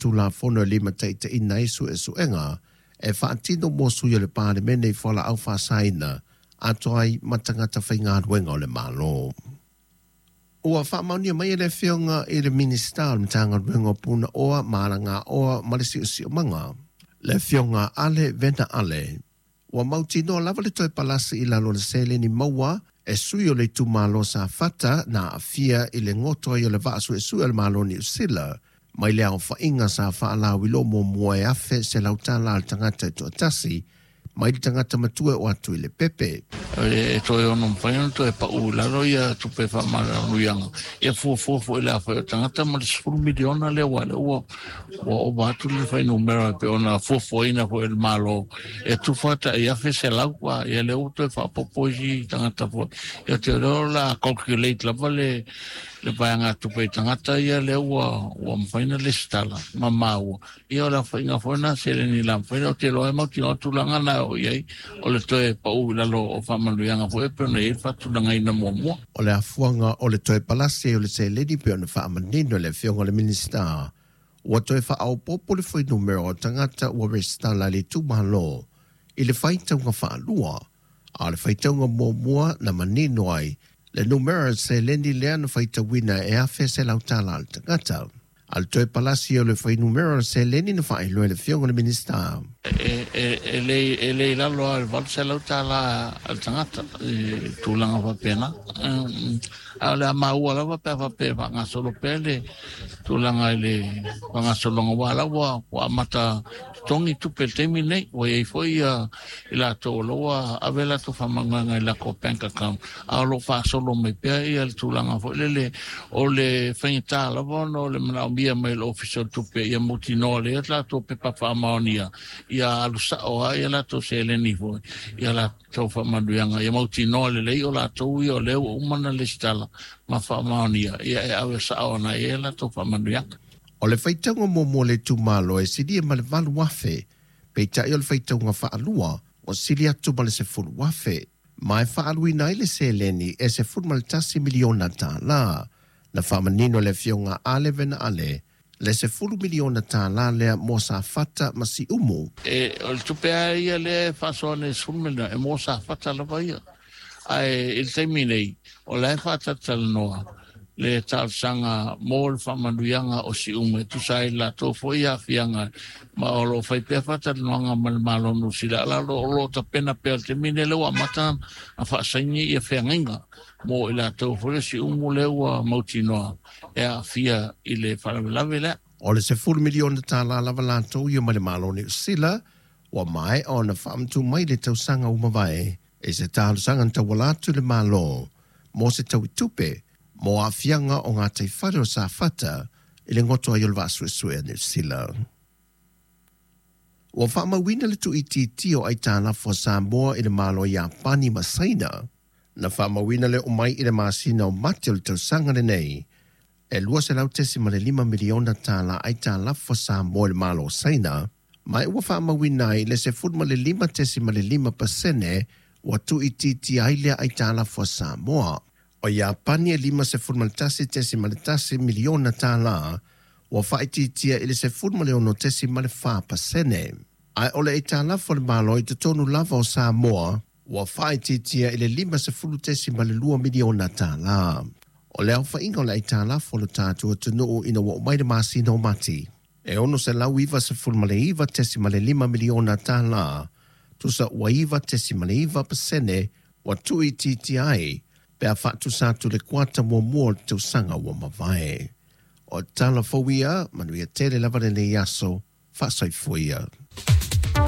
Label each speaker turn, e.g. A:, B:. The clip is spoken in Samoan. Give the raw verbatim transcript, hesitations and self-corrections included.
A: Tulafono e limataitaiina ai suesuega e faatino mo sui o le Palemene i fualaau faasaina atoa ai ma tagata faigaluega o le Malo. Ua faamaonia mai e le Afioga i le Minisita o le Matagaluega o Punaoa ma Alagaoa ma le Siosiomaga, le Afioga Ale Vena Ale, ua mautinoa lava le toe palasi i lalo o le seleni maua e sui o le itumalo Safata na aafia i le goto ai o le vaa suesue a le Malo o Niu Sila mai le aofaiga sa faalauiloa muamua e afe selau tala a le tagata e toatasi mai le tagata matua o atu i le pepe.
B: E toe ono mafai ona toe pau i lalo ia tupe faamanuiaga ia fuafua foi le afai o tagata ma le sefulu miliona lea ua lea ua ua ova atu le fuainumera e pei ona fuafuaina foi e le Malo e tufa tai afe selau a ia lea ua toe faaopoopo isi tagata foi ia te lea o le a calculate lava le le vaega tupe i tagata ia lea ua ua mafai ona lesitala ma maua ia o le aofaiga foi lena seleni la mafai ona ou te iloa e mautinoa tulaga na e oo i ai o le toe pau i lalo o faamanuiaga foi e pei ona i ai le faatulagaina muamua.
A: O le afuaga o le toe palasi ai o le seleni pei ona faamanino e le Afioga i le Minisita, ua toe faaopoopo le fuainumera o tagata ua resitala i le itumalo i le faitauga faalua, a o le faitauga muamua na manino ai le numera seleni lea na faitauina e afe selau tala a le tagata. A o le toe palasi o le fuainumera o le seleni na faailoa e le Afioga i le Minisita.
B: E, e, e le e le i lalo lava i le valu selau tala a le tagata i tulaga faapena. A o le a maua lava pe a faapea e faagasolo pea le tulaga i le faagasologa aua o la ua ua amata totogi tupe i le taimi lenei. Ua i ai foi ia i latou o la ua ave a latou faamanuiaga i latou bank account, a o lo o faasolo mai pea ia le tulaga foi lele o le faigata lava ona o le manaomia mai o le Ofisa o le Tupe ia mautinoa lea latou pepa faamaonia ia alu sao lava ia latou seleni foi ia latou faamanuiaga ia mautinoa lelei o latou ia o lea ua uma ona lesitala ma faamaonia ia e ave sao ana i ai latou faamanuiaga.
A: O le faitauga muamua o le itumalo e silia ma le valu afe, peitai o le faitauga faalua ua sili atu ma le sefulu afe, ma e faaaluina ai le seleni e sefulu ma le tasi miliona tala. Na faamanino e le Afioga Ale Vena Ale le sefulu miliona tala lea mo Safata ma Siumu.
B: E, o le tupe lava ia lea e faasoa nei sefulu miliona e mo Safata lava ia. Ae i le taimi nei, o la e faatalatalanoa le talosaga mo le faamanuiaga o Siumu e tusa ai le latou foi aafiaga ma o lo o fai pea faatalanoaga ma le Malo o Niu Sila a o lo o tapena pea i le taimi nei lea ua amata ona faasaini ia feagaiga mo i latou foi le Siumu lea ua mautinoa e aafia i le faalavelave lea.
A: O le sefulu miliona tala lava latou ia mai le Malo o Niu Sila ua maea ona faamatuu mai le tausaga ua mavae i se talosaga na tauala atu i le Malo mo se tauitupe mo aafiaga o gataifale o Safata i le goto ai o le vaa suesue a Niu Sila. Ua faamauina le tuuitiitia o aitalafu a Samoa i le Malo o Iapani ma Saina. Na faamauina le oo mai i le masina o Mati o le tausaga lenei e lua selau tesima le lima miliona tala aitalafu a Samoa i le Malo o Saina, ma ua faamauina ai le sefulu ma le lima tesima le lima pasene ua tuuitiitia ai lea aitalafu a Samoa. O Iapani e lima sefulu ma le tasi tesima le tasi miliona tala ua faaitiitia i le sefulu ma le ono tesima le fa pasene. Ae o le aitalafu a le Malo i totonu lava o Samoa ua faaitiitia i le lima sefulu tesima le lua miliona tala. O le aofaiga o le aitalafu o le tatou atunuu ina ua oo mai le masina o Mati e ono selau iva sefulu ma le iva tesima le lima miliona tala, tusa ua iva tesima le iva pasene ua tuuitiitia ai pe a faatusa atu le kuata muamua o le tausaga ua mavae. O tala fou ia, manuia tele lava lenei aso, faasoifua ia.